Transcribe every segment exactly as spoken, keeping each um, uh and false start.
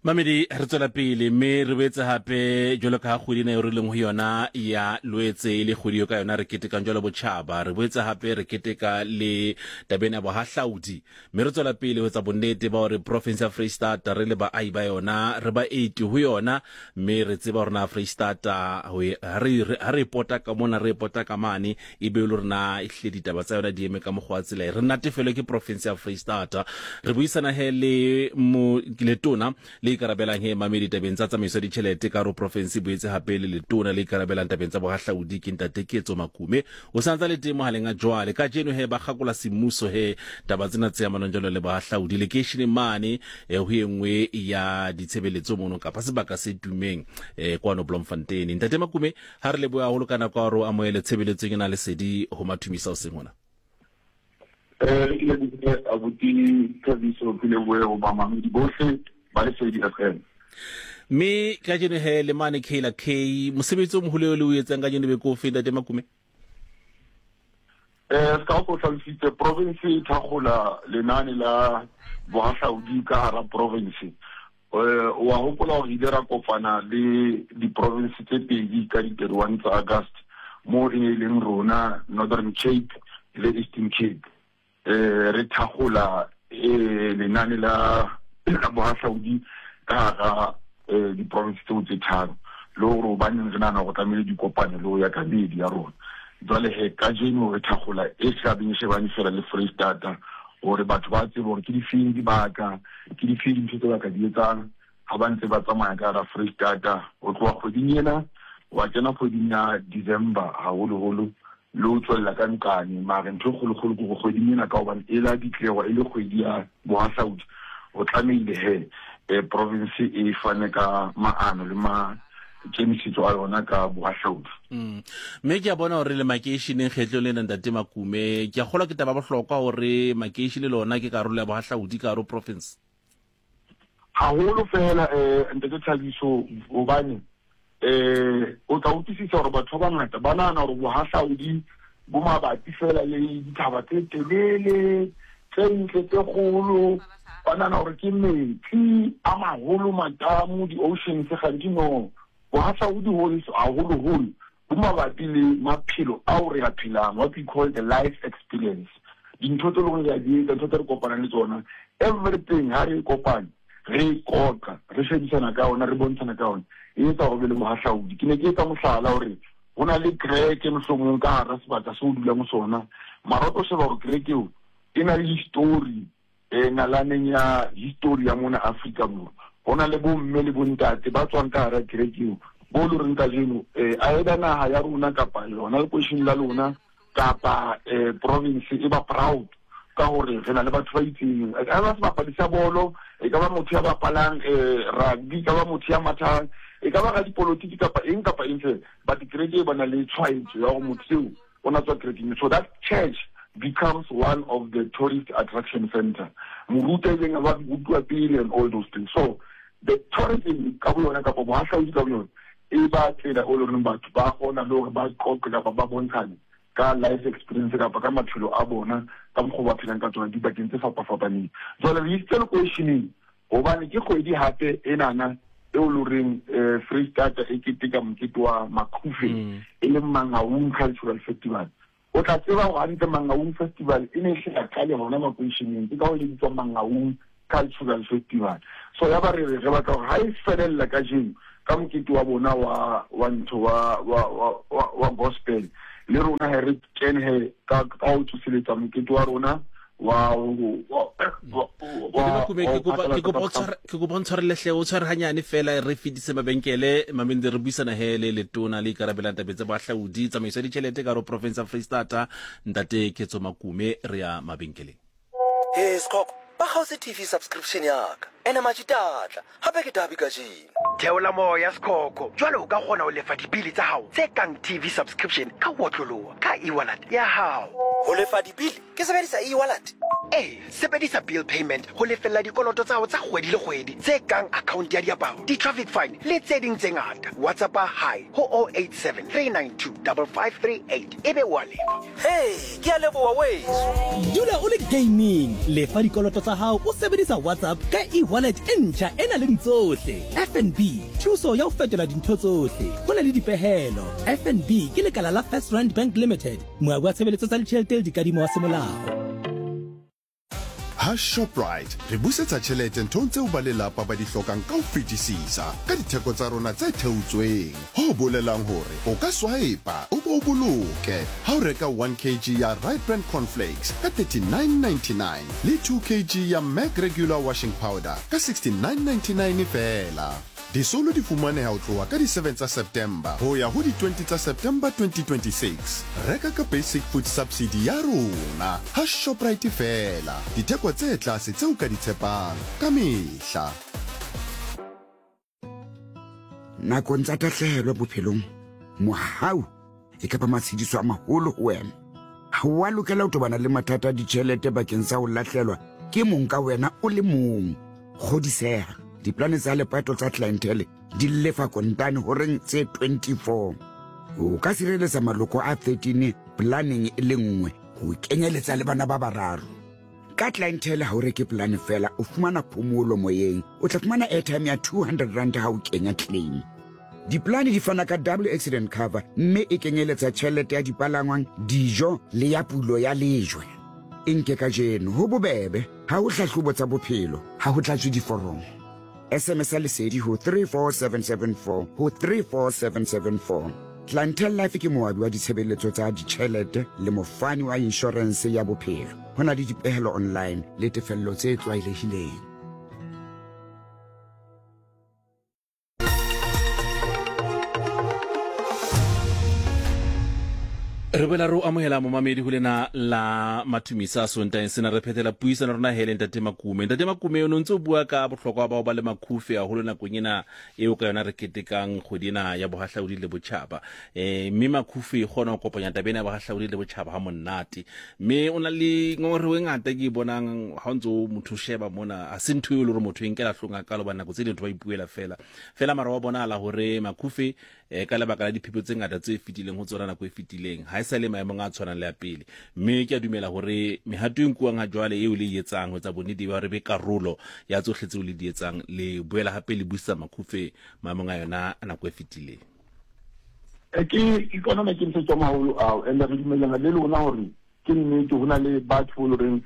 Mamedi, re tswela pele mme re boetse hape jwalo ka ha kgwedi ena eo re leng ho yona ya Loetse e le kgwedi eo ka yona re ketekang jwalo botjhaba. Re boetse hape re keteka le taba ena ya bohahlaudi, mme re tswela pele ho etsa bonnete ba hore province ya Freistata re le baahi ba yona re baeti ho yona, mme re tseba hore na Freistata ho e- ha re ha re e pota ka mona re e pota ka mane e be e le hore na ehlile ditaba tsa yona di eme ka mokgwa wa tsela e. Re natefelwe ke province ya Freistata. Re buisana he le mo letona le ikarabelang he mamedi tabeng tsa tsamaiso ya ditjhelete ka hare ho province, boetse hape le letona le ikarabelang tabeng tsa bohahlaudi ke ntate Ketso Makume. O sa ntsa le teng mohaleng a jwale. Kajeno he ba kgakola semmuso he taba tsena tse amanang jwalo le bohahlaudi lekeisheneng mane eh, ho e nngwe ya ditshebeletso mono kapa sebaka se tummeng eh, kwano Bloemfontein. Ntate Makume, ha re lebohe haholo ka nako ya hore o amohele tshebeletsong ena lesedi ho Mathumisa hoseng hona. Eh, ke lebohile abuti Thabiso, ke lebohe ho bamamedi bohle ba Lesedi F M. Mme kajeno he le mane K la K, mosebetsi o moholo eo le o etsang kajeno be ke ofe, ntate Makume? Eh, se ka o hlalositse, province e thakgola lenane la bohahlaudi ka hara province. Eh, wa hopola hore ile ra kopana le di-province tse pedi ka di-thirty-one tsa August, mo e ne e leng rona Northern Cape le Eastern Cape. Eh, re thakgola, eh, lenane la, la bohahlaudi ka hara, eh, di-province tseo tse tharo, le hore hobaneng re nahana hore tlamehile di kopane le ho ya ka meedi ya rona. Jwale he, kajeno re thakgola e tlabeng e shebane fela le Freistata, hore batho ba tsebe hore ke difeng dibaka, ke difeng dintho tse ba ka di etsang ha ba ntse ba tsamaya ka hara Freistata. Ho tloha kgweding ena wa kena kgweding ya December haholoholo, le ho tswella ka nqane. Mare ntho e kgolokgolo ke hore kgweding ena, ka hobane e la ditlewa e le kgwedi ya bohahlaudi, o tlamehile he, eh, province e fane ka maano le maikemisetso a yona ka bohahlaudi. Mm. Mme ke a bona hore le makeisheneng kgetlo lena, ntate Makume, ke a kgolwa ke taba bohlokwa hore makeishene le ona ke karolo ya bohahlaudi ka hare ho province. Haholo fela, eh, ntate Thabiso, hobane, eh, o tla utlwisisa hore batho ba bangata ba nahana hore bohahlaudi bo mabapi fela le dithaba tse telele, tse ntle, tse kgolo. Ba nahana hore ke metsi a maholo, matamo, di-oceans, kganthe no. Bohahlaudi haholoholo bo mabapi le maphelo ao re a phelang, what we call the life experience. Dintho tse leng hore re a di etsa, ntho tse re kopanang le tsona, everything ha re e kopane, re e qoqa, re shebisana ka yona, re bontshana ka yona, e etsa hore be le bohahlaudi. Ke ne ke etsa mohlala hore ho na le kereke mohlomong ka hara sebaka seo o dulang ho sona, mara o tlo sheba hore kereke eo e na le history, eh, nalaneng ya history ya mona Afrika Borwa. Ho na le bomme le bontate ba tswang ka hara kereke eo, bo le horeng kajeno, eh, either naha ya rona kapa yona lekweisheneng la lona kapa, eh, province e ba proud ka hore re na le batho ba itseng. E ka ba sebapadi sa bolo, e ka ba motho ya bapalang, eh, rugby, e ka ba motho ya mathang, e ka ba radipolotiki kapa eng kapa eng fela, but kereke e ba na le tshwaetso ya hore motho eo o na tswa kerekeng. So that church becomes one of the tourist attraction center. Moruti a ileng a ba rutwa pele and all those things. So the tourism ka boyona kapa bohahlaudi ka boyona e ba tsela o leng batho ba kgona le hore ba qoqe kapa ba bontshane ka life experience kapa ka maphelo a bona ka mokgwa ba phelang ka tsona dibakeng tse fapafapaneng. Jwale re isitse lekweisheneng hobane ke kgwedi hape enana eo le horeng, eh, Freistata e keteka mokete wa Makhufe, Mm. e leng Mangaung Cultural Festival. O tla tseba hore hantle Mangaung Festival e ne e hle ya qale hona makweisheneng, ke ka hoo e bitswang Mangaung Cultural Festival. So ya ba re re, re batla hore ha e felella kajeno ka mokete wa bona wa, wa ntho, wa, wa, wa, wa, wa gospel, le rona he re kene he ka, ka ho tsoseletsa mokete wa rona wa, wa, wa, wa, Ke kopa, ke kopa, wa ke kopa o tshware, ke kopa o ntshwarele hle, o tshware hanyane fela re fetise mabenkele, mamedi re buisana he le letona le ikarabelang tabeng tsa bohahlaudi, tsamaiso ya ditjhelete ka hare ho province ya Freistata, ntate Ketso Makume, re ya mabenkeleng. He Sekhoko, ba kgaotse T V subscription ya ka. Ene matšitatla, gape ke dabi kajeno. Theola moya Sekhoko, jwale o ka kgona ho lefa dibili tsa hao tse kang T V subscription ka ho otloloha ka e-wallet ya hao. Ho lefa dibili Ke sebedisa e-wallet? Ee, sebedisa bill payment ho lefella dikoloto tsa hao tsa kgwedi le kgwedi tse kang account ya diaparo, di-traffic fine le tse ding tse ngata. WhatsApp hi ho oh eight seven three nine two five five three eight ebe wa lefa. Hey, ke a leboha weso. Dula o le gaming, lefa dikoloto tsa hao o sebedisa WhatsApp ka e-wallet e ntjha e nang le tsohle. F N B, thuso ya ho fetola dintho tsohle. Ho na le dipehelo. F N B ke lekala la First Rand Bank Limited, moabi wa tshebeletso tsa ditjhelete le dikadimo wa semolao. Ha Shoprite re busetsa tjhelete nthong tseo ba lelapa ba di hlokang ka ho fetisisa ka ditheko tsa rona tse theotsweng. Ho bolelang hore o ka swipe-a o bo boloke ha o reka one kilogram ya Right Brand Cornflakes ka thirty-nine ninety-nine le two kilograms ya Mac Regular Washing Powder ka sixty-nine ninety-nine feela. Disolo di fumaneha ho tloha ka di seven tsa September ho ya ho di twenty tsa September twenty twenty-six. Reka ka basic food subsidy ya rona ha Shoprite feela. Ditheko tse tlase tseo ka di tshepang ka mehla. Nakong tsa tahlehelo bophelong, mohau e ka ba matshediso a maholo ho wena. Ha o a lokela ho tobana le mathata a ditjhelete bakeng sa ho lahlelwa ke mong ka wena o le mong. Kgodiseha, diplane tsa lepato tsa clientele di lefa kontane horeng tse twenty-four. O ka sireletsa maloko a thirteen planeng e le nngwe ho kenyeletsa le bana ba bararo. Ka clientele ha o reke plane fela, o fumana phomolo moyeng. O tla fumana airtime ya two hundred rand ha o kenya claim. Diplane di fana ka double accident cover mme e kenyeletsa tjhelete ya dipalangwang, dijo le ya pulo ya lejwe. E nke kajeno ho bobebe, ha ho hlahlobo tsa bophelo, ha ho tlatswe diforomo. S M S lesedi ho three four seven seven four ho three four seven seven four. Clientele Life ke moabi wa ditshebeletso tsa ditjhelete le mofani wa insurance ya bophelo. Ho na le dipehelo online le tefello tse tlwaelehileng. Re boela re o amohela momamedi ho lena la Mathumisa Sontaeng sena re phethela puisano rona hele Ntate Makume. Ntate Makume o ntse o bua ka bohlokwa ba ho ba le makhufe haholo nakong ena eo ka yona re ketekang kgwedi ena ya bohahlaudi le botjhaba. Eh mme makhufe e kgona ho kopanya taba ena ya bohahlaudi le botjhaba ha monate. Mme o na le ngongorego e ngata ke e bonang ha o ntse o motho sheba mona, ha se ntho eo le hore motho e nkela hlong a kalo ba nako tse ding ntho ba ipuela fela. Fela mara wa bonahala hore makhufe eh ka lebaka la diphephetso tse ngata tse fetileng ho tsona nako e fetileng ha e sa le maemong a tshwanang le a pele. Mme ke a dumela hore mehato e nkuwang ha jwale eo le e etsang ho etsa bonnete ba hore be karolo ya tsohle tseo le di etsang, le boela hape le busa makhufe maemong a yona a nako e fetileng. Ke ke kona maikemisetso a maholo ao, and re dumellana le lona hore ke nnete ho na le batho bo loreng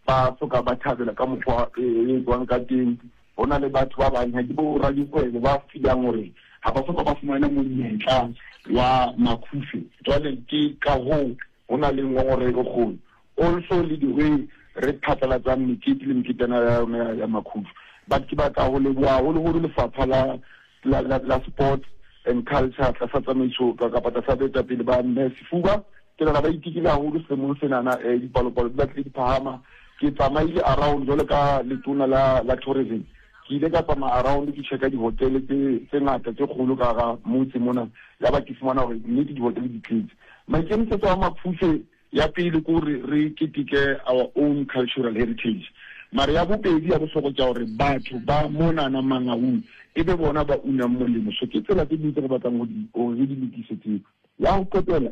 ba soka ba thabela ka mokgwa e etswang ka teng. Ho na le batho ba bang ha ke bo radikgwebo ba feelang hore ha ba soka ba fumana monyetla wa makhufe. Jwale ke ka hoo ho na le ngongorego e kgolo. Also le the way re phatlalatsang mekete le meketana ya yona ya makhufe. But ke batla ho leboha haholoholo lefapha la la la, la sports and culture tlasa tsamaiso kapa tlasa boetapele ba Mme Sefuba. Ke nahana ba itekile haholo selemong senana, eh, dipalopalo di batlile di phahama. Ke tsamaile around jwalo ka letona la la tourism. Ke ile ka tsamaya around ke checka dihotele tse tse ngata tse kgolo ka hara motse mona, ya ba ke fumana hore nnete dihotele di tletse. Maikemisetso a makhufe ya pele ke hore re keteke our own cultural heritage. Mara ya bobedi ya bohlokwa ke hore batho ba monana Mangaung e be bona ba unang molemo. So ke tsela tse ding tse re batlang ho di hore re di lokise tseo. Ya ho qetela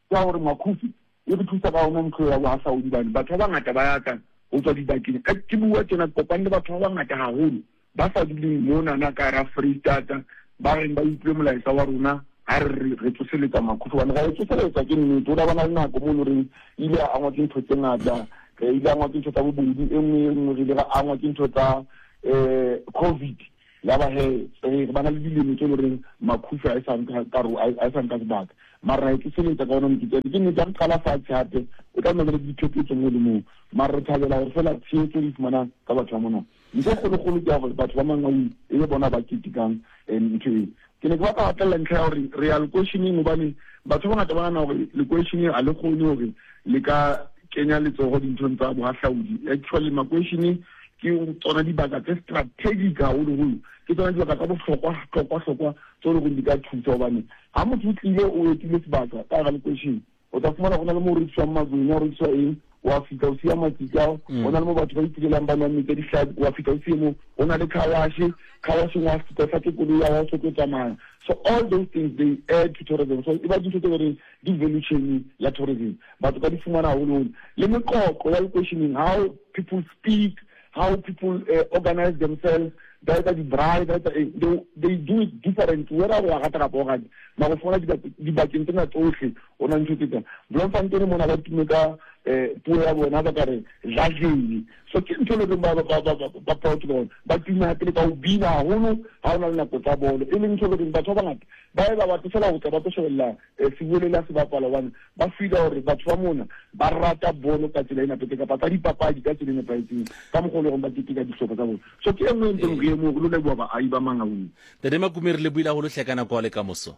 ke hore makhufe e re thusa ka hona ntho ya bohahlaudi bane. Batho ba bangata ba ya tla ho tswa dibakeng. Ka ke bua tjena ke kopane le batho ba bangata haholo ba sa duleng monana ka hara Freistata, ba reng ba utlwe molaetsa wa rona ha re re tsoseletsa makhufe. Hobane ra e tsoseletsa ke nnete, ho la bana le nako mo e leng horeng ile a angwa ke ntho tse ngata, ile a angwa ke ntho tsa bobodu, e nngwe e nngwe re ile ra angwa ke ntho tsa eh COVID. Ya ba he re bana le dilemo tse loreng makhufe a e sa nka karo a e sa nka sebaka. Mara e tsoseletsa ka ona mokete. Ke nnete ha re qala fatshe hape o tla nna le diphephetso mo le moo. Mara re thabela hore fela tshehetso re e fumanang ka batho ba mona. Ntho e kgolokgolo ke ya hore batho ba Mangaung e be bona ba ketekang ntho eo. Ke ne ke batla ho hatella ntlha ya hore re ya lekweisheneng hobane batho ba bangata ba nahana hore lekweisheneng ha le kgone hore le ka kenya letsoho dinthong tsa bohahlaudi. Actually makweisheneng ke tsona dibaka tse strategic haholoholo, ke tsona dibaka tsa bohlokwa hlokwa hlokwa tse leng hore di ka thusa hobane ha motho o tlile o etile sebaka ka hara lekweishene O tla fumana go na le mo rekisiwang magwenya, o rekisiwa eng, wa fihla o siya matsitsi ao. Go na le mo batho ba itulelang ba nwang metsi a dihlapi, wa fihla o siye mo. Go na le car wash, car washeng wa fihla o hlatswe koloi ya hao, o so tlo tsamaya. So all those things, they add to tourism. So e ba dintho tse goreng di value chain ya tourism, batho ka di fumana haholoholo. Le meqoqo ya lekweisheneng, how people speak, how people uh, organize themselves, ba etsa di-braai, ba etsa eng, they, they do it different, whether o a rata kapa o rate, mara o fumana dibakeng tsena tsohle o na ntho tse tsena. Bloemfontein mona ba tume ka um puo ya bona, ba ka re jajele. So ke ntho e leng ba ba ba ba proud ka bona. Ba tume hape le ka ho bina haholo ha o na le nako tsa bolo, e leng ntho e leng batho ba bangata ba e ba batle fela ho tla ba tlo shebella sebolele se bapala, hobane ba feela hore batho ba mona ba rata bolo ka tsela e nepahetseng kapa tsa dipapadi ka tsela e nepahetseng, ka mokgwa o leng hore ba keteka dihlopha tsa bona. So ke e nngwe e ntseng re emo re lo leboha baahi ba Mangaung. Ntate Makume, re lebohile haholo hle ka nako ya le kamoso.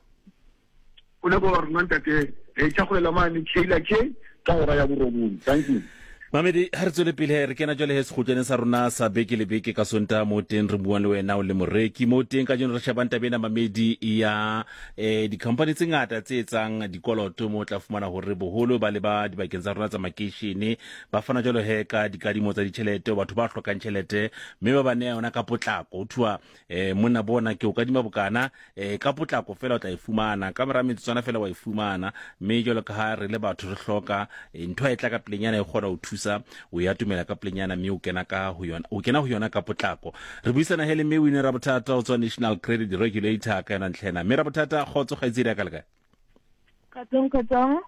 O leboha rona ntate, re tjhagolela mane Kayla K ka hora ya borobong. Thank you. Mamedi, ha re tswele pele, re kena jwale he sekgutlwaneng sa rona sa beke le beke ka Sontaha, mo teng re buang le wena o le moreki. Mo teng kajeno re shebang taba ena, mamedi, ya eh di-company tse ngata tse etsang dikoloto, mo tla fumana hore boholo ba le ba dibakeng tsa rona tsa makeishene ba fana jwalo he ka dikadimo tsa ditjhelete, batho ba hlokang tjhelete, mme ba ba neya yona ka potlako. Ho thuwa eh monna bona ke o kadima bokana, eh ka potlako fela o tla e fumana, ka mora metsotswana fela wa e fumana. Mme jwalo ka ha re le batho re hloka ntho e tla ka pelenyana e kgona ho thusa, o ya tumela ka pelenyana, mme o kena ka ho yona, o kena ho yona ka potlako. Re buisana hele mme Winnie Rabothata o tswa National Credit Regulator ka yona ntlhena. Mme Rabothata, kgotso kgaitsedi ya ka le kae? Kgotsong, kgotsong,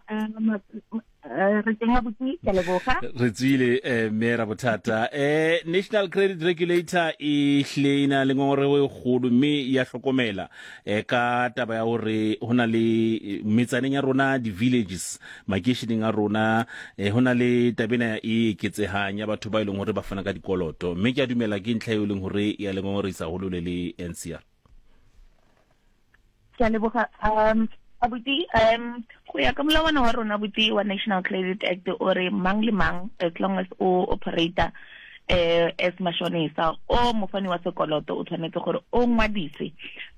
re teng abuti, ke a leboga. Re tswile mme Rabothata. Eh National Credit Regulator e hlile e na le ngongorego e kgolo, mme ya hlokomela eh ka taba ya hore ho na le metsaneng ya rona, di-villages, makeisheneng a rona, eh ho na le taba ena e eketsehang ya batho ba e leng hore ba fana ka dikoloto, mme ke a dumela ke ntlha eo e leng hore ya le ngongorisa haholo le le N C R. Ke a leboga um abuti. um go ya ka molawana wa rona abuti wa National Credit Act, o re mang le mang, as long as o operator eh as mashonisa o mofani wa sekoloto, o tshwanetse gore o ngwadise.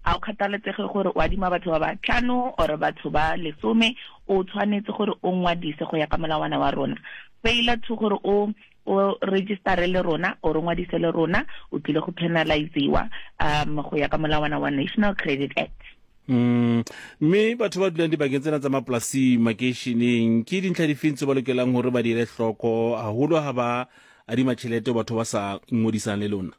A o kgathaletsege gore o adima batho ba ba tlhano or batho ba lesome, o tshwanetse gore o ngwadise go ya ka molawana wa rona. Failure to gore o o register le rona o ngwadise le rona, o tlile go penalizewa um go ya ka molawana wa National Credit Act. Mm, mme batho ba dulang dibakeng tsena tsa mapolasing, makeisheneng, ke dintlha difeng tse ba lokelang hore ba di ele hloko haholo ha ba adima tjhelete ho batho ba sa ingodisang le lona?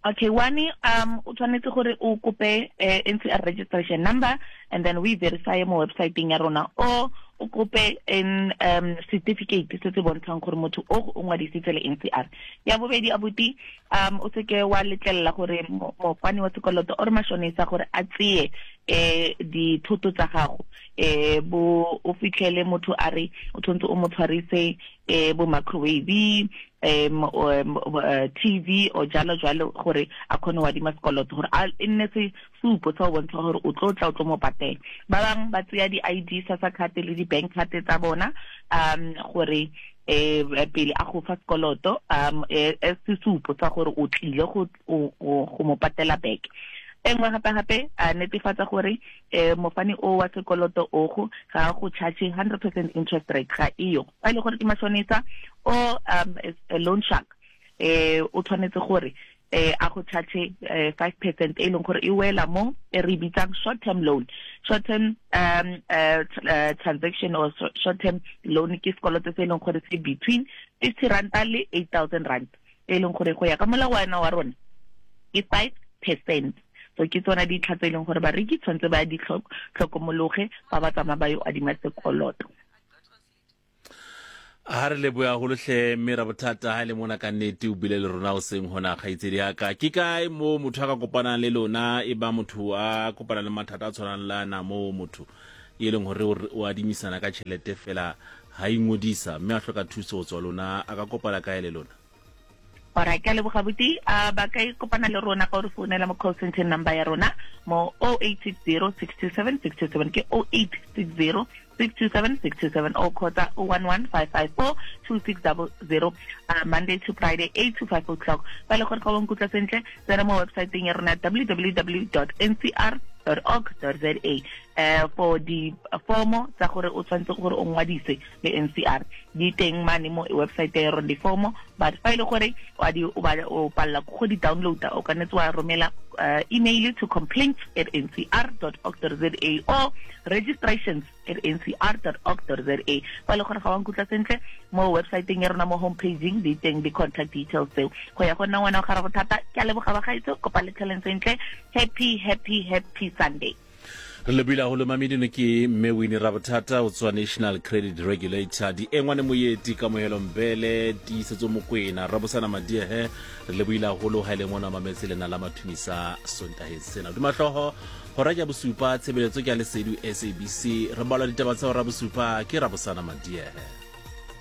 Okay, one, um o tshwanetse gore o kope eh, N C R registration number, and then we verify mo websiteng ya rona, o o kope in um certificate se se bontshang gore motho o o ngwadisitse le N C R. Ya bobedi abuti, um o seke wa letlelela gore mofani wa sekoloto or mashonisa gore a tseye eh dithoto tsa gago, eh bo o fitlhele motho a re o tshwanetse o mo tshwarise eh bo microwave, um uh, T V o jalo jalo, gore a kgone wa adima sekoloto, gore a e nne se supo sa go bontsha gore o tlo tla o tlo mo patela. Ba bang ba tseya di-I D sa sa card le di-bank card tsa bona um gore eh pele a go fa sekoloto, um e sesupo sa gore o tlile go go mo patela back. E nngwe gape gape a netefatsa gore eh mofani o wa sekoloto o go ga go charge hundred percent interest rate, ga iyo. Fa e le gore ke mashonisa o um a loan shark, eh o tshwanetse gore eh a go charge five percent e leng gore e wela mo e re bitsang short term loan. Short term um uh, uh, transaction or short term loan ke sekoloto se e leng gore se between fifty rand le eight thousand rand, e leng gore go ya ka molawana wa rona ke five percent. So ke tsona ditlha tse e leng gore bareki tshwanetse ba di tlhokomologe fa ba tsamaya ba yo adima sekoloto. Ha re leboha haholo hle mme Rabothata, ha le mona ka nnete o bile le rona hoseng hona kgaitsedi ya ka. Ke kae mo motho a ka kopanang le lona, e ba motho a kopana le mathata a tshwanang le ana, mo motho e leng hore o adimisana ka tjhelete fela ha ingodisa mme a hloka thuso ho tswa lona, a ka kopana kae le lona? Alright, ke a leboga abuti. Uh, ba ka kopana le rona ka gore founela mo call center number ya rona mo oh eight six zero, six two seven, six two seven, ke oh eight six zero, six two seven six two seven or kgotsa o one one five five four two six double zero uh, Monday to Friday eight to five o'clock. Fa e le gore ga o nkutlwa sentle, tsena mo websiteng ya rona w w w dot n c r dot org dot z a uh, for di formo tsa gore o tshwanetse gore o ngwadise le N C R di teng mane mo website ya rona di formo, but fa ile gore wa di o ba o palla go di downloada o ka netse wa romela uh, email to complaints at n c r dot org dot z a or registrations at n c r dot org dot z a. Fa ile gore ga wa nkutlwa sentle mo websiteng ya rona mo homepageng di teng di contact details tseo go ya go nna ngwana wa ga bothata. Ke a leboga ba gaetso, kopa le tlheleng sentle. Happy happy happy Sunday. Re lebile haholo mamedino ke mme Winnie Rabothata o tswa National Credit Regulator, di engwane moeti Kamohelo Mbele, Tiisetso Mokwena, Rabosana Madiehe. Re lebohile haholo ha ile ngwana mametse lena la mathumisa Sontaheng sena. Duma hlooho hora ya bosupa, tshebeletso ke ya Lesedi S A B C. Re balwa ditaba tsa hora bosupa ke Rabosana Madiehe.